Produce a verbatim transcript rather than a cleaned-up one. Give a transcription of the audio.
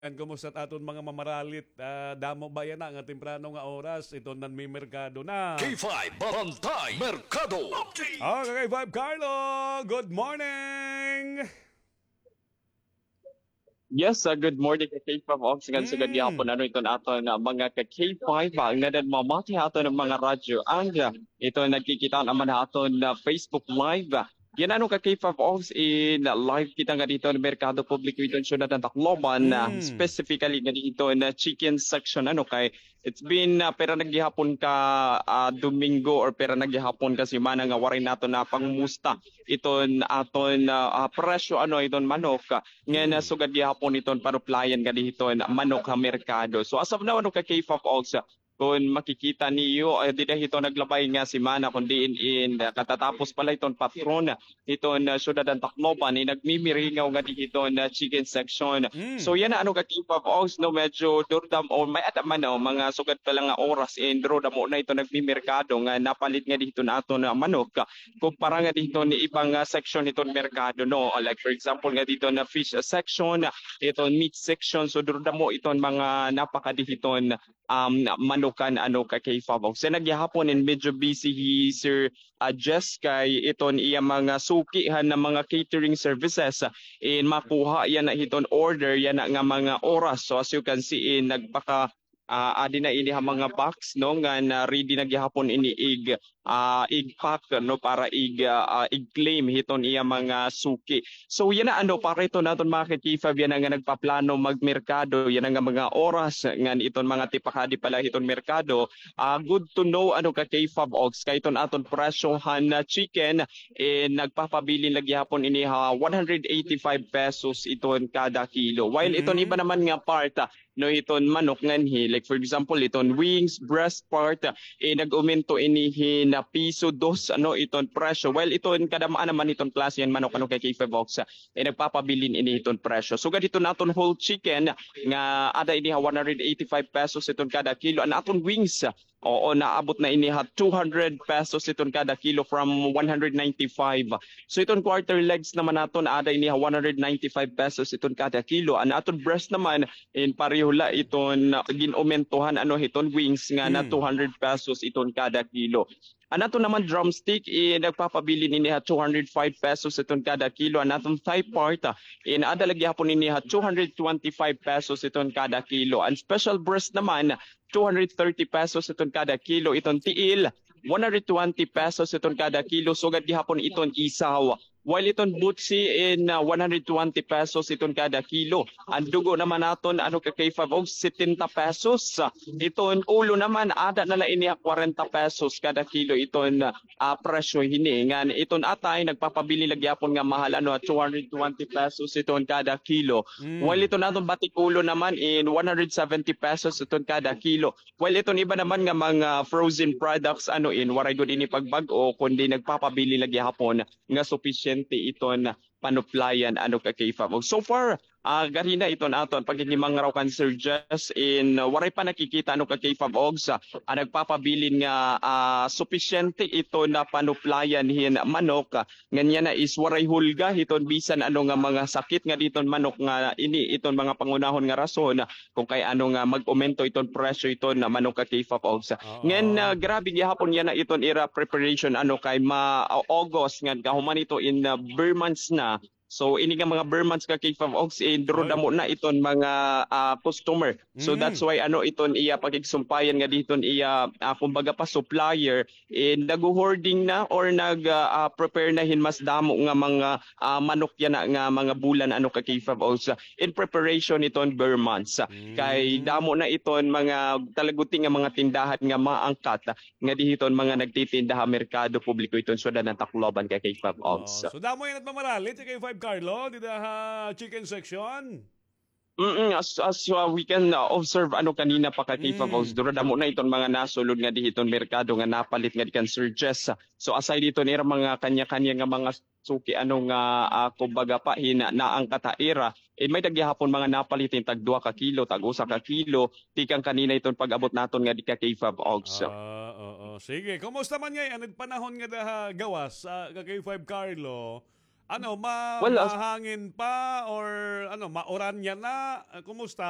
Yan, kumusta it aton mga mamaralit? Ah, damo ba yana nga temprano nga oras iton nanmimerkado na? K five Bantay Merkado Update. Ah, ka K five Carlo, good morning. Yes, ah, good morning ka K five Ox. Ngan sugad gihapon ano iton aton, ah, mga ka K five, ah, nga nanmamati ha aton mga radyo. Ang, ah, ito nagkikita naman ha aton, ah, Facebook Live. Yana ano ka K five Ox, in live kita ngadi hiton merkado publiko hiton syudad han Tacloban, ah, specifically ngadi hiton, ah, chicken section, ano, kay it's been, ah, pira na gihapon ka, ah, Domingo or pira na gihapon ka semana nga waray naton napangumusta iton aton, ah, ah, presyo, ano, iton manok, ah, ngan, ah, sugad gihapon iton panuplayan ngadi hiton manok ha merkado. So as of now, ano ka K five Ox, ah, Kon makikita niyo, ah, dida hiton naglabay nga semana, kon diin in, ah, katatapos pala hiton patron hiton, ah, syudad han Tacloban, in nagmimiringaw ngadi hiton, ah, chicken section. So, yana, ano, ka K five Ox, no, medyo duro damo, may-ada man, no, mga sugad pa la nga oras, in duro damo na iton nagmimerkado nga napalit ngadi hiton aton, ah, manok, ah, kumpara ngadi hiton ibang, ah, section hiton merkado, no. Ah, like, for example, ngadi hiton, ah, fish, ah, section, ah, iton meat section, so duro damo iton mga napakadi hiton um, manukan, ano, ka K five Ox. Yana gihapon in medyo busy hi Sir, ah, Jess kay iton iya mga suki han mga catering services. In makuha yana hiton order yana nga mga oras. So as you can see, in nagpaka, ah, adi na ini ha mga box, no, nga na ready na gihapon ini ig ah, ig-pack, no, para ig-, ah, ah, ig-claim hiton iya mga suki. So yana, ano, para iton aton mga ka-K five yana nga nagpaplano magmerkado yana nga mga oras ngan iton mga tipakadi pala hiton merkado, ah, good to know, ano, ka K five Ox, kay iton aton presyo han, ah, chicken, eh, nagpapabilin la gihapon ini ha one hundred eighty-five pesos iton kada kilo. While iton iba naman nga part, ah, no, iton manok nganhi. Like, for example, iton wings, breast part, eh, nag-umento ini hin piso dos, ano, iton presyo. Well, iton kadam-an naman iton klase han manok, ano, ka K five Ox, eh, nagpapabilin ini iton presyo. Sugad hiton aton whole chicken nga ada ini ha one hundred eighty-five pesos iton kada kilo. An aton wings, oo, naabot na ini ha two hundred pesos iton kada kilo from one hundred ninety-five. So iton quarter legs naman naton ada ini ha one hundred ninety-five pesos iton kada kilo. An aton breast naman, in pareho la iton, ah, gin-umentohan, ano, hiton wings nga na two hundred pesos iton kada kilo. An aton naman drumstick, eh, nagpapabilin ini ha two hundred five pesos iton kada kilo. An aton thigh part, ah, in ada la gihapon ini ha two hundred twenty-five pesos iton kada kilo. An special breast naman, two hundred thirty pesos iton kada kilo. Iton tiil, one hundred twenty pesos iton kada kilo. Sugad gihapon iton isaw. While iton butsi in, ah, one hundred twenty pesos iton kada kilo. An dugo naman naton, ano, ka K five Ox, setenta pesos. Iton ulo naman, ada na la ini ha kwarenta pesos kada kilo iton, ah, presyo hini. Ngan iton atay, nagpapabilin la gihapon nga mahal, ano, ha two hundred twenty pesos iton kada kilo. While iton aton batik ulo naman in one hundred seventy pesos iton kada kilo. While iton iba naman nga mga frozen products, ano, in waray gud ini pagbag-o, kundi nagpapabilin la gihapon nga supisyente iton panuplayan, ano, ka K five Ox. So far, ah, ganina iton aton paghihimangraw kan Sir Jess in, ah, waray pa nakikita, ano, ka K five Ox, ah, ah, nagpapabilin nga, ah, supisyente iton panuplayan hin manok, ah, ngan yana is waray hulga hiton bisan ano nga mga sakit ngadi hiton manok nga ini iton mga pangunahon nga rason, ah, kon kay ano nga mag-umento iton presyo iton manok ka K five Ox. Ngan, ah, grabe gihapon yana iton ira preparation, ano, kay ma-, ah, August ngan kahuman ito in, ah, ber months na. So ini nga mga ber months ka K five Ox, eh, duro damo na iton mga, ah, customer. So that's why ano iton iya pakigsumpayan ngadi hiton iya, ah, kumbaga pa supplier, eh, nagho-hoarding na or nag, ah, ah, prepare na hin mas damo nga mga, ah, manok yana nga mga bulan, ano, ka K five Ox, in preparation iton ber months. Kay damo na iton mga talaguti nga mga tindahan nga maangkat ngadi hiton mga nagtitinda ha merkado publiko hiton syudad han Tacloban ka K five Ox. So damo yana it mamaralit ka K five Carlo dida ha chicken section. Mm, as, as, uh, we can, uh, observe, ano, kanina pa ka K five Ox, duro damo na iton mga nasulod ngadi hiton merkado nga napalit ngadi kan Sir Jess. So aside hiton ira mga kanya-kanya nga mga suki, ano, nga, ah, kumbaga pa hin naangkat ha ira, eh, may-ada gihapon mga napalit hin tag duha ka kilo, tag usa ka kilo, tikang kanina iton pag-abot naton ngadi ka K five Ox. Ah, oo. Sige, kumusta man ngay-an it panahon ngada ha gawas, ah, ka K five Carlo? Ano, ma-, Well, as mahangin pa or ano, mauran niya na? Ah, kumusta?